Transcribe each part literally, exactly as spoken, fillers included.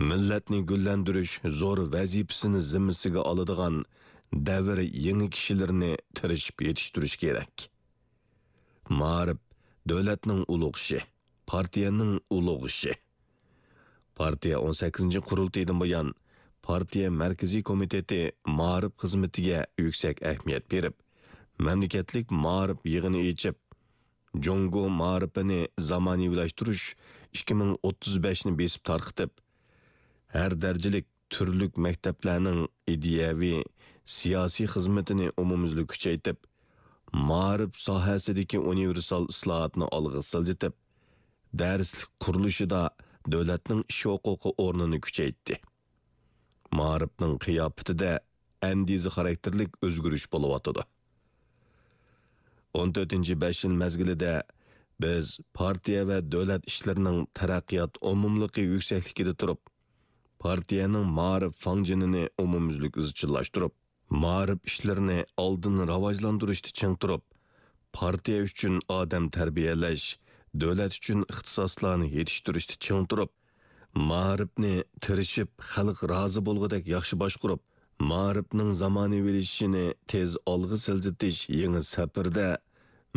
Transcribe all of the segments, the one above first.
مىللەتنى گۈللەندۈرۈش زور ۋەزىپىسىنى زىممىسىگە ئالىدىغان دەۋر يېڭى كىشىلىرىنى تىرىشىپ يېتىشتۈرۈش كېرەك. مائارىپ دۆلەتنىڭ ئۇلۇغ ئىشى، پارتىيەنىڭ ئۇلۇغ ئىشى. پارتىيە ئون سەككىزىنچى قۇرۇلتىيىدىن بۇيان، پارتىيە مەركىزىي كومىتېتى مائارىپ خىزمىتىگە يۈكسەك ئەھمىيەت بېرىپ، مەملىكەتلىك مائارىپ يىغىنى ئېچىپ، جۇڭگو مائارىپىنى زامانىۋىلاشتۇرۇش ئىككى مىڭ ئوتتۇز بەشنى بېسىپ تارقىتىپ، ھەر دەرىجىلىك تۈرلۈك مەكتەپلەرنىڭ ئىدىيەۋى، سىياسىي خىزمىتىنى ئومۇميۈزلۈك كۈچەيتىپ، مائارىپ ساھەسىدىكى ئۇنىۋېرسال ئىسلاھاتنى ئالغا سىلجىتىپ، دەرسلىك قۇرۇلۇشىدا دۆلەتنىڭ ئىش ھوقۇقى ئورنىنى كۈچەيتتى. مائارىپنىڭ قىياپىتىدە ئەندىزە خاراكتېرلىك ئۆزگىرىش بولۇۋاتىدۇ. ئون تۆتىنچى بەش يىل مەزگىلىدە بىز پارتىيە ۋە دۆلەت ئىشلىرىنىڭ تەرەققىيات ئومۇملۇقى يۈكسەكلىكىدە تۇرۇپ، پارتىيەنىڭ مائارىپ فاڭجېنىنى ئومۇميۈزلۈك ئىزچىللاشتۇرۇپ، مائارىپ ئىشلىرىنى ئالدىن راۋاجلاندۇرۇشتا چىڭ تۇرۇپ، پارتىيە ئۈچۈن ئادەم تەربىيەلەش، دۆلەت ئۈچۈن ئىختىساسلارنى يېتىشتۈرۈشتە چىڭ تۇرۇپ، مائارىپنى تىرىشىپ خەلق رازى بولغۇدەك ياخشى باشقۇرۇپ، مائارىپنىڭ زامانىۋىلىشىشىنى تېز ئالغا سىلجىتىش يېڭى سەپىرىدە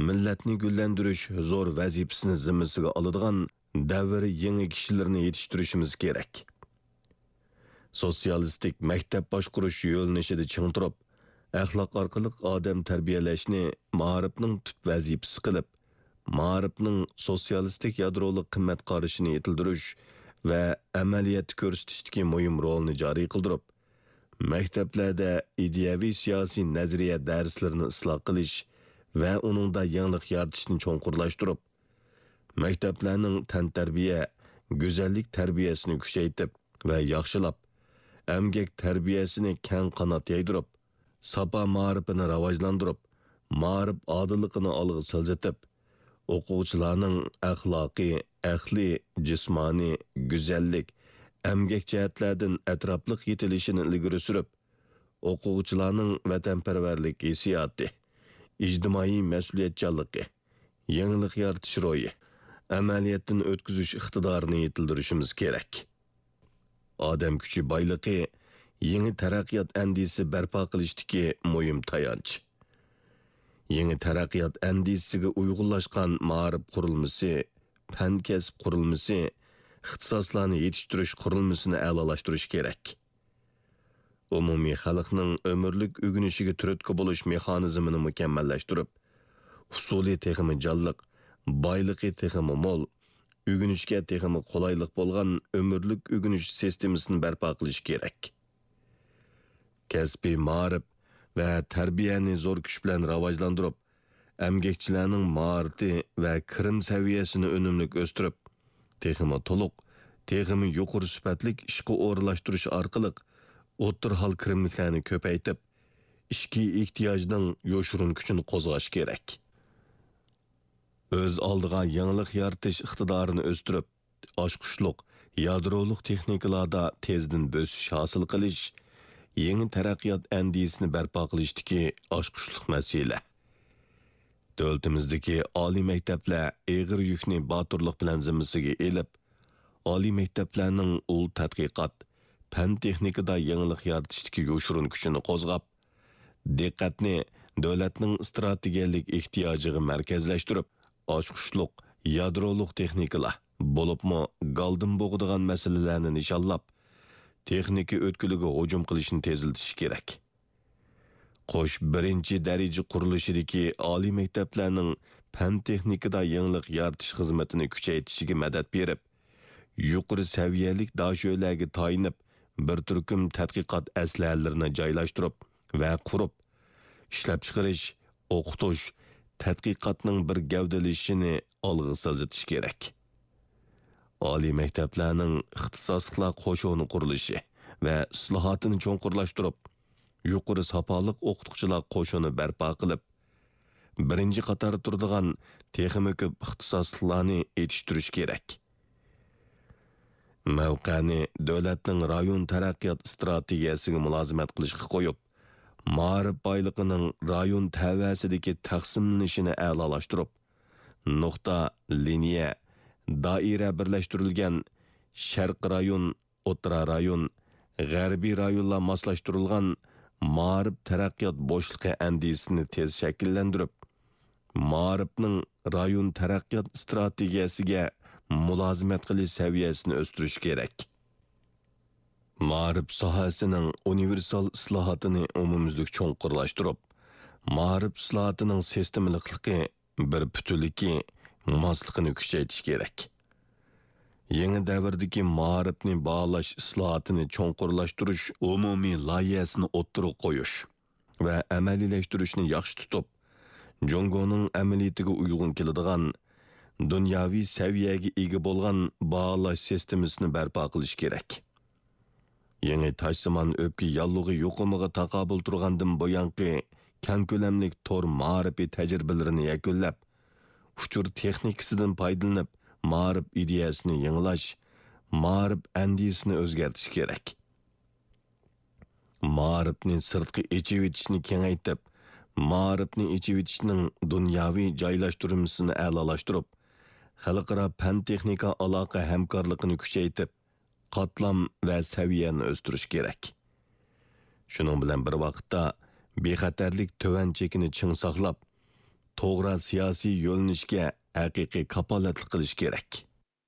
مىللەتنى گۈللەندۈرۈش زور ۋەزىپىسىنى زىممىسىگە ئالىدىغان دەۋر يېڭى كىشىلىرىنى يېتىشتۈرۈشىمىز كېرەك. سوتسىيالىستىك مەكتەپ باشقۇرۇش يۆنىلىشىدە چىڭ تۇرۇپ، ئەخلاق ئارقىلىق ئادەم تەربىيەلەشنى مائارىپنىڭ تۈپ ۋەزىپىسى قىلىپ، مائارىپنىڭ سوتسىيالىستىك يادرولۇق قىممەت قارىشىنى يېتىلدۈرۈش ۋە ئەمەلىيەتتە كۆرسىتىشتىكى مۇھىم رولىنى جارى قىلدۇرۇپ، مەكتەپلەردە ئىدىيەۋى سىياسىي نەزەرىيە دەرسلىرىنى ئىسلاھ قىلىش ۋە ئۇنىڭدا يېڭىلىق يارىتىشنى چوڭقۇرلاشتۇرۇپ، مەكتەپلەرنىڭ تەنتەربىيە، گۈزەللىك تەربىيەسىنى كۈچەيتىپ ۋە ياخشىلاپ، ئەمگەك تەربىيەسىنى كەڭ قانات يايدۇرۇپ، ساپا مائارىپىنى راۋاجلاندۇرۇپ، مائارىپ ئادىللىقىنى ئالغا سىلجىتىپ، ئوقۇغۇچىلارنىڭ ئەخلاقىي، ئەقلىي، جىسمانىي، گۈزەللىك، ئەمگەك جەھەتلەردىن ئەتراپلىق يېتىلىشىنى ئىلگىرى سۈرۈپ، ئوقۇغۇچىلارنىڭ ۋەتەنپەرۋەرلىك ھېسسىياتى، ئىجتىمائىي مەسئۇلىيەتچانلىقى، يېڭىلىق يارىتىش روھى، ئەمەلىيەتتىن ئۆتكۈزۈش ئىقتىدارىنى يېتىلدۈرۈشىمىز كېرەك. ئادەم كۈچى بايلىقى يېڭى تەرەققىيات ئەندىزىسى بەرپا قىلىشتىكى مۇھىم تايانچ. يېڭى تەرەققىيات ئەندىزىسىگە ئۇيغۇنلاشقان مائارىپ قۇرۇلمىسى، پەن كەسىپ قۇرۇلمىسى، ئىختىساسلارنى يېتىشتۈرۈش قۇرۇلمىسىنى ئەلالاشتۇرۇش كېرەك. ئومۇمىي خەلقنىڭ ئۆمۈرلۈك ئۆگىنىشىگە تۈرتكە بولۇش مېخانىزمىنى مۇكەممەللەشتۈرۈپ، ئۇسۇلى تېخىمۇ جانلىق، بايلىقى تېخىمۇ مول، ئۆگىنىشكە تېخىمۇ قولايلىق بولغان ئۆمۈرلۈك ئۆگىنىش سىستېمىسىنى بەرپا قىلىش كېرەك. كەسپىي مائارىپ ۋە تەربىيەنى زور كۈچ بىلەن راۋاجلاندۇرۇپ، ئەمگەكچىلەرنىڭ ماھارىتى ۋە كىرىم سەۋىيەسىنى ئۈنۈملۈك ئۆستۈرۈپ، تېخىمۇ تولۇق، تېخىمۇ يۇقىرى سۈپەتلىك ئىشقا ئورۇنلاشتۇرۇش ئارقىلىق ئوتتۇرا ھال كىرىملىكلەرنى كۆپەيتىپ، ئىچكى ئېھتىياجنىڭ يوشۇرۇن كۈچىنى قوزغاش كېرەك. ئۆز ئالدىغا يېڭىلىق يارىتىش ئىقتىدارىنى ئۆستۈرۈپ، ئاچقۇچلۇق، يادرولۇق تېخنىكىلاردا تېزدىن بۆسۈش ھاسىل قىلىش، يېڭى تەرەققىيات ئەندىزىسىنى بەرپا قىلىشتىكى ئاچقۇچلۇق مەسىلە. دۆلىتىمىزدىكى ئالىي مەكتەپلەر ئېغىر يۈكنى باتۇرلۇق بىلەن زىممىسىگە ئېلىپ، ئالىي مەكتەپلەرنىڭ ئۇل تەتقىقات، پەن-تېخنىكىدا يېڭىلىق يارىتىشتىكى يوشۇرۇن كۈچىنى قوزغاپ، دىققەتنى دۆلەتنىڭ ئىستراتېگىيەلىك ئېھتىياجىغا مەركەزلەشتۈرۈپ، ئاچقۇچلۇق، يادرولۇق تېخنىكىلار، بولۇپمۇ گالدىن بوغىدىغان مەسىلىلەرنى نىشانلاپ، تېخنىكا ئۆتكىلىگە ھۇجۇم قىلىشنى تېزلىتىش كېرەك. قوش بىرىنچى دەرىجە قۇرۇلۇشىدىكى ئالىي مەكتەپلەرنىڭ پەن-تېخنىكىدا يېڭىلىق يارىتىش خىزمىتىنى كۈچەيتىشىگە مەدەت بېرىپ، يۇقىرى سەۋىيەلىك داشۆلەرگە تايىنىپ، بىر تۈركۈم تەتقىقات ئەسلىھەلىرىنى جايلاشتۇرۇپ ۋە قۇرۇپ، ئىشلەپچىقىرىش، ئوقۇتۇش، تەتقىقاتنىڭ بىر گەۋدىلىشىشىنى ئالغا سىلجىتىش كېرەك. ئالىي مەكتەپلەرنىڭ ئىختىساسلىقلار قوشۇنى قۇرۇلۇشى ۋە ئىسلاھاتىنى چوڭقۇرلاشتۇرۇپ، يۇقىرى ساپالىق ئوقۇتقۇچىلار قوشۇنى بەرپا قىلىپ، بىرىنچى قاتاردا تۇرىدىغان تېخىمۇ كۆپ ئىختىساسلىقلارنى يېتىشتۈرۈش كېرەك. مەۋقەنى دۆلەتنىڭ رايون تەرەققىيات ئىستراتېگىيەسىگە مۇلازىمەت قىلىشقا قويۇپ، مائارىپ بايلىقىنىڭ رايون تەۋەسىدىكى تەقسىملىنىشىنى ئەلالاشتۇرۇپ، نۇقتا، لىنىيە، دائىرە بىرلەشتۈرۈلگەن شەرقىي رايون ئوتتۇرا رايون، غەربىي رايونلار ماسلاشتۇرۇلغان مائارىپ تەرەققىيات بوشلۇقى ئەندىزىسىنى تېز شەكىللەندۈرۈپ، مائارىپنىڭ رايون تەرەققىيات ئىستراتېگىيەسىگە مۇلازىمەت قىلىش سەۋىيەسىنى ئۆستۈرۈش كېرەك. مائارىپ ساھەسىنىڭ ئۇنىۋېرسال ئىسلاھاتىنى ئومۇميۈزلۈك چوڭقۇرلاشتۇرۇپ، مائارىپ ئىسلاھاتىنىڭ سىستېمىلىقلىقى، بىر پۈتۈنلۈكى، ماسلىقىنى كۈچەيتىش كېرەك. يېڭى دەۋردىكى مائارىپنى باھالاش ئىسلاھاتىنى چوڭقۇرلاشتۇرۇش ئومۇمىي لايىھەسىنى ئوتتۇرىغا قويۇش ۋە ئەمەلىيلەشتۈرۈشنى ياخشى تۇتۇپ، جۇڭگونىڭ ئەمەلىيىتىگە ئۇيغۇن كېلىدىغان دۇنياۋى سەۋىيەگە ئىگە بولغان باھالاش سىستېمىسىنى بەرپا قىلىش كېرەك. يېڭى تاشسىمان ئۆپكە ياللۇغى يۇقۇمىغا تاقابىل تۇرغاندىن بۇيانقى كەڭ كۆلەملىك تور مائارىپى تەجرىبىلىرىنى يەكۈنلەپ، ئۇچۇر تېخنىكىسىدىن پايدىلىنىپ، مائارىپ ئىدىيەسىنى يېڭىلاش، مائارىپ ئەندىزىسىنى ئۆزگەرتىش كېرەك. مائارىپنى سىرتقا ئېچىۋېتىشنى كېڭەيتىپ، مائارىپنى ئېچىۋېتىشنىڭ دۇنياۋى جايلاشتۇرمىسىنى ئەلالاشتۇرۇپ، خەلقئارا پەن-تېخنىكا ئالاقە ھەمكارلىقىنى كۈچەيتىپ، قاتلام ۋە سەۋىيەنى ئۆستۈرۈش كېرەك. شۇنىڭ بىلەن بىر ۋاقىتتا، بىخەتەرلىك تۆۋەن چېكىنى چىڭ ساقلاپ، توغرا سىياسىي يۆنىلىشكە ھەقىقىي كاپالەتلىك قىلىش كېرەك.